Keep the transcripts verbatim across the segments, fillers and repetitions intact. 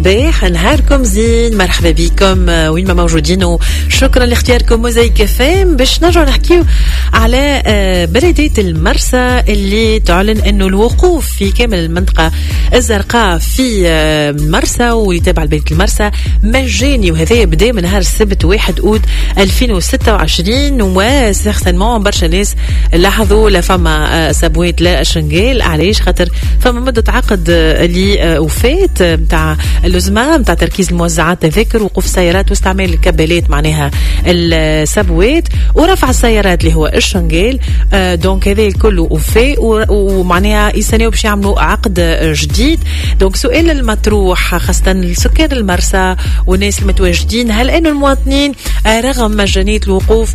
الصباح، نهاركم زين، مرحبا بكم وين ما موجودين وشكرا لاختياركم موزايك اف ام. باش نرجعوا نحكيو على بلدية المرسى اللي تعلن انه الوقوف في كامل المنطقة الزرقاء في المرسى ويتابع لبلدية المرسى مجاني، وهذا بدا من نهار السبت واحد أوت ألفين وستة وعشرين. و certainement برشا ناس لاحظوا لا فما سبوات لا شنقال. علاش؟ خاطر فما مدة عقد اللي وفات نتاع اللزمه نتاع تركيز الموزعات تذاكر وقوف السيارات واستعمال الكبالات معناها السبوات ورفع السيارات اللي هو الشنقال. donc هذا الكل وفاء ومعناها يستناو باش يعملوا عقد جديد. donc سؤال المطروح خاصة لسكان المرسى والناس المتواجدين، هل انه المواطنين رغم مجانية الوقوف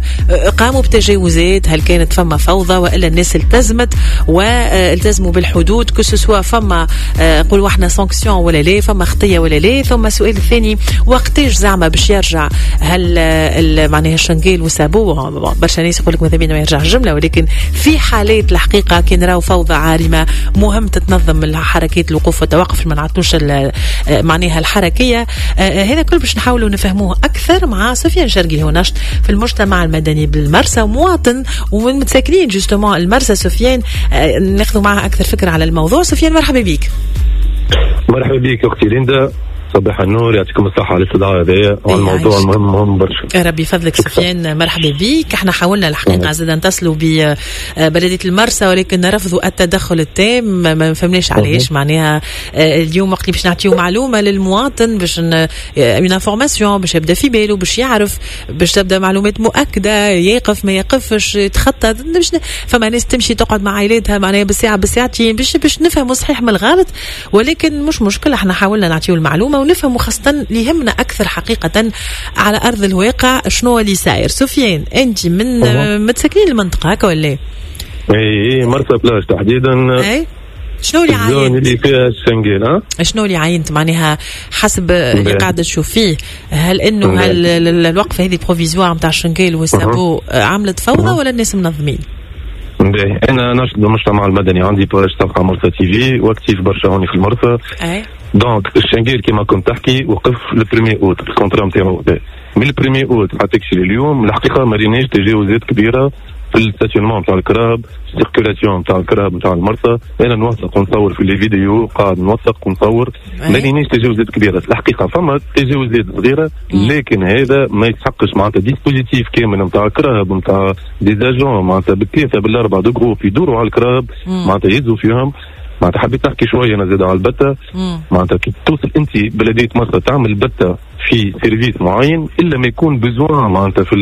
قاموا بتجاوزات؟ هل كانت فما فوضى والا الناس التزمت والتزموا بالحدود؟ que ce soit فما نقولوا احنا sanction ولا لا، فما خطيه ولا لا؟ ثم السؤال الثاني، وقتاش زعما باش يرجع هل معناها الشنقال و sabot؟ برشا ناس يقول لك ماذا بينا ما يرجع الجملة، ولكن في حالات الحقيقة كي نراو فوضى عارمة مهم تتنظم الحركات الوقوف والتوقف، ما نعطوش معناها الحركية. هذا كل باش نحاولوا نفهموه اكثر مع سفيان شرقي، هو ناشط في المجتمع المدني بالمرسى ومواطن ومن متساكنين justement المرسى. سفيان ناخذ معه اكثر فكرة على الموضوع. سفيان مرحبا بك. مرحبا بك اختي ليندا، صباح النور، يعطيكم الصحة على الاستضافة هذايا وعلى الموضوع المهم مهم برشا. ربي يفضلك سفيان، مرحبا بك. احنا حاولنا الحقيقة زاد نتصلوا ببلدية المرسى ولكن رفضوا التدخل التام، ما فهمناش علاش. معناها اليوم وقت اللي باش نعطيو معلومة للمواطن، باش une information باش يبدا في باله، باش يعرف، باش تبدا معلومات مؤكدة، يقف ما يقفش، يتخطى. باش فما ناس تمشي تقعد مع عائلاتها معناها بالساعة بالساعتين باش باش نفهموا صحيح من الغلط، ولكن مش مشكلة، احنا حاولنا نعطيو المعلومة ونفهموا خاصة اللي يهمنا أكثر حقيقة على أرض الواقع شنو اللي ساير. سفيان أنت من متساكنين المنطقة هكا ولا؟ اي مرسى بلاج تحديدا. اي شنو اللي عاينت؟ اللي فيها الشنقيل. ها شنو اللي عاينت معناها حسب اللي قاعدة تشوف فيه؟ هل انه هل الوقفة هذه provisoire نتاع الشنقيل وال sabot عملت فوضى ولا الناس منظمين؟ باهي، انا ناشط بالمجتمع المدني، عندي page صفحة مرسى تي في و actif برشا هوني في المرسى. اي donc الشنقيل كيما كنت تحكي وقف le premier août ال contrat نتاعو من ال premier août حتى كشي اليوم. الحقيقة ما ريناش تجاوزات كبيرة في ال stationnement نتاع الكراهب، ال circulation نتاع الكراهب نتاع المرسى. انا نوثق ونصور في les vidéos، قاعد نوثق ونصور، ما ريناش تجاوزات كبيرة الحقيقة. فما تجاوزات صغيرة لكن هذا ما يتحقش معناتها dispositif كامل نتاع الكراهب نتاع des agents معناتها بالثلاثة بالاربعة de groupe يدوروا على الكراهب معناتها يهزوا فيهم. معناتها حبيت نحكي شوية انا زاد على البته. معناتها كي توصل انت بلديه مرسى تعمل بته في service معين الا ما يكون besoin معناتها في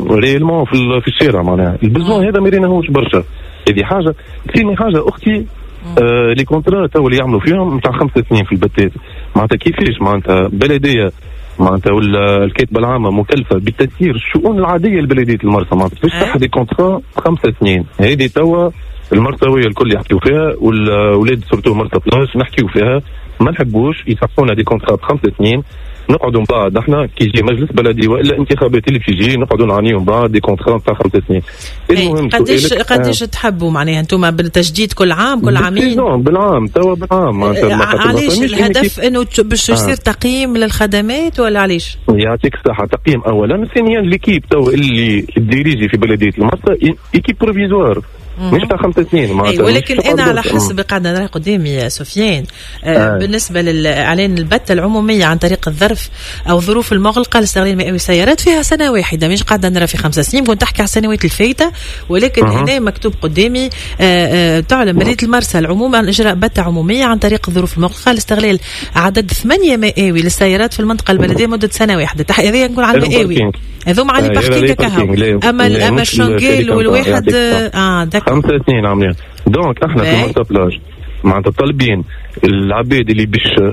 réellement في, في الشارع، معناها ال besoin هذا ما ريناهوش برشا. هذه حاجة. ثاني حاجة اختي، آه les contrats تو اللي يعملوا فيهم نتاع خمس سنين في البتات، معناتها كيفاش معناتها بلديه معناتها ولا الكاتبة العامة مكلفة بتسيير الشؤون العادية لبلديه المرسى، معناتها باش تحت des contrats خمس سنين. هذه توا المرساويه الكل يحكيو فيها، والاولاد surtout مرسى بلاج نحكيو فيها، ما نحبوش يصححونا des contrats بخمس سنين نقعدوا من بعد احنا كي يجي مجلس بلدي والا انتخابات اللي تجي نقعدوا نعانيو من بعد des contrats تاع خمس سنين. المهم قداش قداش تحبوا معناها انتم بالتجديد كل عام كل عامين؟ بالعام توا بالعام. علاش الهدف انه باش يصير تقييم للخدمات ولا علاش؟ يعطيك الصحة، تقييم اولا، ثانيا l'équipe توا اللي diriger في بلديه المرسى équipe provisoire مش تاع خمس سنين معناتها. ولكن انا على حسب قاعدة نرى قدامي يا سفيان، آه آه. بالنسبة للاعلان البته العمومية عن طريق الظرف او الظروف المغلقة لاستغلال مئوي السيارات فيها سنة واحدة، مش قاعدة نرى في خمس سنين. كنت تحكي على السنوات الفايته، ولكن أه. هنا مكتوب قدامي آه آه تعلن بلديه المرسى العموم عن اجراء بته عموميه عن طريق الظروف المغلقة لاستغلال عدد ثمانية مئوي للسيارات في المنطقة البلدية مده سنة واحدة. هذه نقول على المئوي، هذوما على parking كهو. اما اما الشنقيل والواحد اه خمسة سنين عاملين. donc احنا في مرسى بلاج معناتها طالبين العباد اللي باش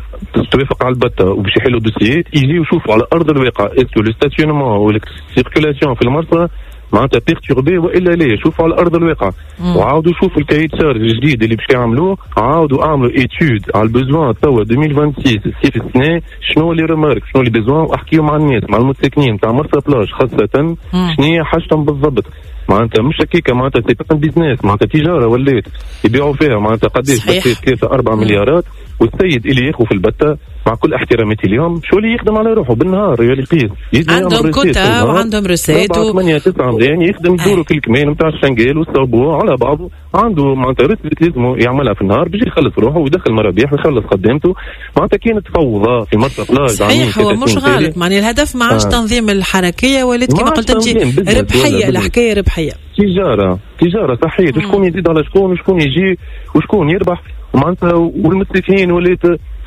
توافق على البته وباش يحلوا dossier ات يجيو يشوفوا على ارض الواقع est-ce que le stationnement ولا circulation في المرسى معناتها perturbée والا لا، شوفوا على ارض الواقع. وعاودوا شوفوا ال cahier des charges الجديد اللي باش يعملوه، عاودوا اعملوا étude على ال besoin توا ألفين وستة وعشرين الصيف السنة، شنو les remarques شنو les besoins، واحكيوا مع الناس مع المتساكنين تاع مرسى بلاج خاصة شنو هي حاجتهم بالضبط. معناتها مش هكاكا، معناتها c'est un business، معناتها تجارة ولات يبيعوا فيها، معناتها قداش ثلاثة أربعة مليارات، والسيد اللي ياخذ في البتة مع كل احتراماتي اليوم شو اللي يخدم على روحه بالنهار يا لقيت عندهم كوتا وعندهم recettes و ثمانية تسعة ملايين يخدم يدوروا كل كمان نتاع ال chenille وال sabot على بعضه، عنده معناتها recette لازم يعملها في النهار باش يخلص روحه ويدخل مرابيح ويخلص خدامته. معناتها كانت فوضى في مرسى بلاج. صحيح هو مش غلط، معناها الهدف ما عادش آه. تنظيم الحركية، ولات كما قلت انت ربحية، الحكاية ربحية، تجارة تجارة صحيح. وشكون يزيد على شكون وشكون يجي وشكون يربح معناتها. والمستفيدين ولات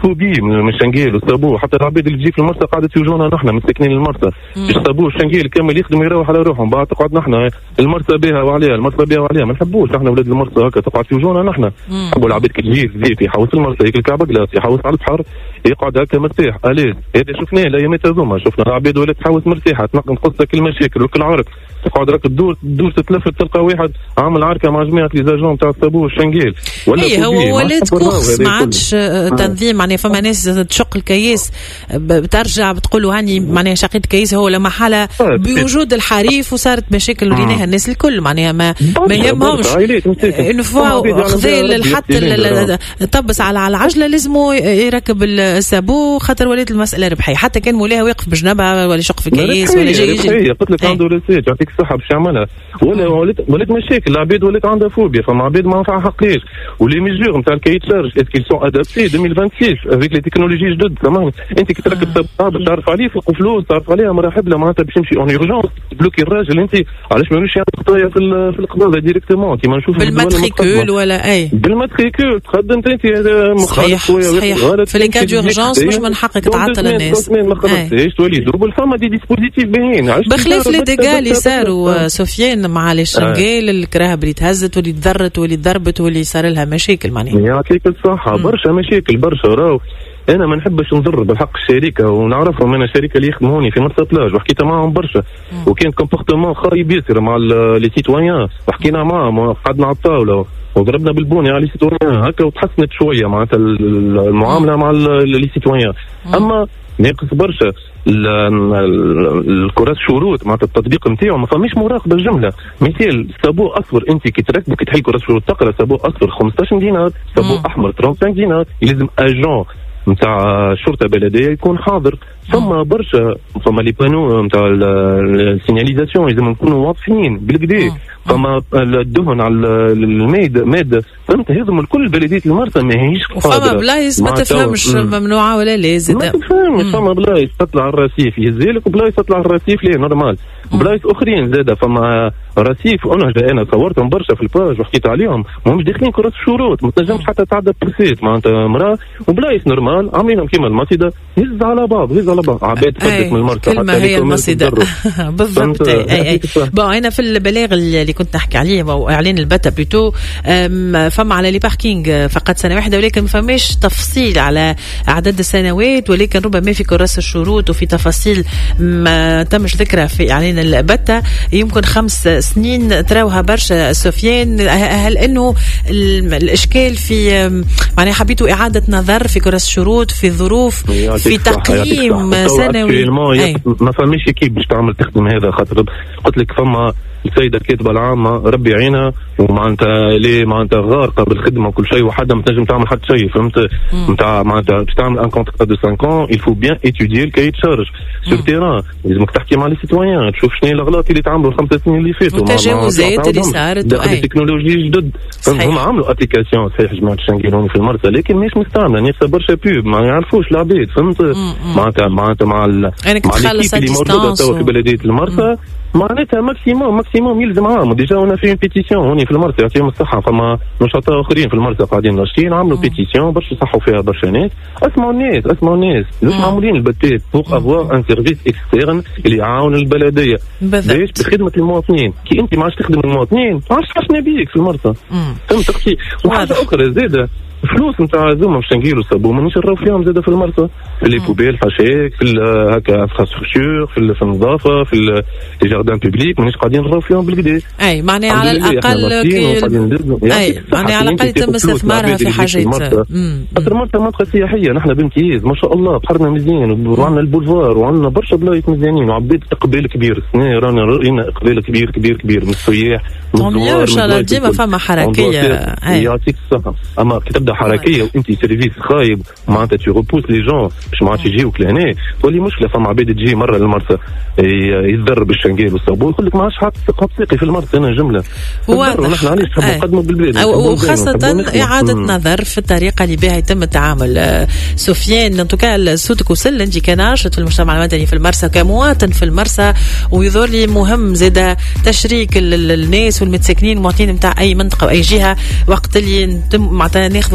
phobie من ال chenille وال sabot، حتى العباد اللي تجي في المرسى قاعدة يوجونا نحن مساكنين المرسى، ال sabot وال chenille كامل يخدم يروح على روحهم، بعد تقعد نحن المرسى بها وعليها المرسى بها وعليها، ما نحبوش نحن اولاد المرسى هكا تقعد يوجونا نحن. نحبوا العباد كي تجي تزيد يحوس المرسى ياكل كعبه glace يحوس على البحر يقعد هكا مرتاح à l'aise. هذا شفناه الايامات هذوما، شفنا العباد ولات تحوس مرتاحة تنقص كل المشاكل وكل عرك، تقعد راك تدور تدور تتلفت تلقى واحد عامل عركة مع جماعة les agents تاع ال sabot وال chenille. ولا إيه هو ولات course ما عادش تنظيم، معناها فما ناس تشق الكياس بترجع بتقولوا هاني معناها شقيت كياس هو لما حالة بوجود الحريف وصارت مشاكل وريناها الناس الكل، معناها ما ما يهمهمش انه فوا خذا حتى طبس على العجلة لازم يركب ال sabot خاطر ولات المسالة ربحية، حتى كان مولاها واقف بجنبها ولا يشق في كياس ولا جاي يجي. قلت لك عنده recette يعطيك الصحة باش يعملها، ولا ولات ولات مشاكل العباد ولات عندها فوبيا، فما عباد ما نفعها حقيش. و les mesures نتاع ال cahier des charges est-ce qu'elles sont adaptées ألفين وستة وعشرين avec les technologies جدد. سامحني انت كي تركب sabot تعرف عليه فوق فلوس تعرف عليها مراحب له معناتها باش يمشي en urgence bloquer الراجل. انت علاش ما يمشيش يعمل خطايا في في القباضه directement كيما نشوفوا بال matricule ولا اي بال matricule تخدم انت مخالف صحيح في les cas d'urgence مش من حقك تعطل الناس ما خلصتيش تولي double. فما des dispositifs باهيين بخلاف les dégâts اللي صاروا سفيان مع les chenilles الكراهب اللي تهزت واللي تضرت واللي تضربت واللي صار لها مشاكل معناها. يعطيك الصحة برشا مشاكل برشا. راهو انا ما نحبش نضر بالحق الشركة ونعرفهم انا الشركة اللي يخدموني في مرسى بلاج وحكيت معاهم برشا وكان comportement خايب ياسر مع les citoyens وحكينا معاهم وقعدنا على الطاولة وضربنا بالبوني على les citoyens هكا وتحسنت شوية معناتها المعاملة مع les citoyens. اما ناقص برشا الكراس شروط معناتها التطبيق نتاعو ما فماش مراقبة الجملة. مثال sabot اصفر انت كي تركب كي تحل كراس شروط تقرا sabot اصفر خمسطاش دينار، sabot احمر خمسة وثلاثين دينار، يلزم agent نتاع الشرطة البلدية يكون حاضر. ثم برشا فما les panneaux نتاع ال signalisation لازم نكونوا واضحين بالكدا، فما الدهن على الميد مادة فهمت. هذم الكل بلديه المرسى ماهيش قادرة. فما بلايص ما تفهمش ممنوعة ولا لا زاد ما تفهمش. فما بلايص تطلع الرصيف يهزلك وبلايص تطلع الرصيف ليه normal. بلايص اخرين زاده فما رصيف انا انا صورتهم برشا في ال page وحكيت عليهم ماهمش داخلين كراس الشروط ما تنجمش حتى تعدى poussette معناتها مراة. وبلايص normal عاملينهم كيما المصيده هز على بعض هز على بعض عباد تفدت من المرسى حتى هي المصيده بالضبط. اي اي bon انا في البلاغ اللي كنت نحكي عليه او اعلان البتا plutôt فما على les parkings فقط سنة واحدة ولكن ما فماش تفصيل على اعداد السنوات، ولكن ربما في كراس الشروط وفي تفاصيل ما تمش ذكرها في اعلان البتا يمكن خمس سنين تراوها برشا سفيان. هل انه الاشكال في معناها حبيتوا اعاده نظر في كراس الشروط في الظروف في تقييم سنوي؟ ما فماش équipe باش تعمل تخدم هذا، خاطر قلت لك فما السيدة الكاتبة العامة ربي يعينها ومعناتها ليه معناتها غارقة بالخدمة وكل شيء وحدها ما تنجم تعمل حتى شيء فهمت. نتاع معناتها باش تعمل un contrat de خمسة ans il faut bien étudier ال cahier des charges sur terrain، لازمك تحكي مع les citoyens تشوف شنو الاغلاط اللي تعملوا الخمس سنين اللي فاتوا والتجاوزات اللي صارت التكنولوجي جدد. هما عملوا application صحيح جماعة ال chenille في المرسى لكن ماهيش مستعملة نفسها برشا pub ما يعرفوش العباد فهمت. معناتها معناتها مع مع اللي موجودة توا في بلديه المرسى معناتها maximum maximum يلزم عام. déjà on fait pétition هوني في المرسى يعطيهم الصحة، فما نشطاء اخرين في المرسى قاعدين ناشطين عملوا pétition برشا صحوا فيها برشا ناس. اسمعوا الناس اسمعوا الناس مش معمولين البتات pour avoir un service externe اللي يعاون البلدية باش بخدمة المواطنين. كي انت ما عادش تخدم المواطنين ما عادش حاشنا بيك في المرسى فهمت اختي. وحاجه اخرى زاده فلوس نتاع زوما باش نقيلوا sabot مانيش نراو فيهم زاده في المرسى في les poubelles حاشاك في هكا infrastructure في, في النظافة في les jardins publics مانيش قاعدين نراو فيهم بالكدا. اي معناها على الاقل كي اي معناها على الاقل يتم استثمارها في حاجات. خاطر المرسى منطقة سياحية نحن بامتياز ما شاء الله بحرنا مزيان وعندنا البولفار وعندنا برشا بلايص مزيانين وعباد اقبال كبير السنة رانا راينا اقبال كبير كبير كبير من السياح من الزوار. ان شاء الله ديما فما حركية يعطيك الصحة. اما كي تبدا تبدا حركية وانت service خايب، معناتها tu repousses les gens باش ما عادش يجيوك لهنا، تولي مشكله. فما عباد تجي مرة للمرسى يتضرب بالشنقال والصابون، يقول لك ما عادش حاط حاط ساقي في المرسى انا جمله. واضح. نحن علاش نحبوا نقدموا بالبلاد؟ وخاصة اعاده نظر في الطريقة اللي بها يتم التعامل. آه، سفيان، en tout cas صوتك وصل، انت كناشط في المجتمع المدني في المرسى، كمواطن في المرسى، ويظهر لي مهم زاد تشريك الناس والمتساكنين المواطنين نتاع اي منطقة واي جهة وقت اللي نتم معناتها ناخذ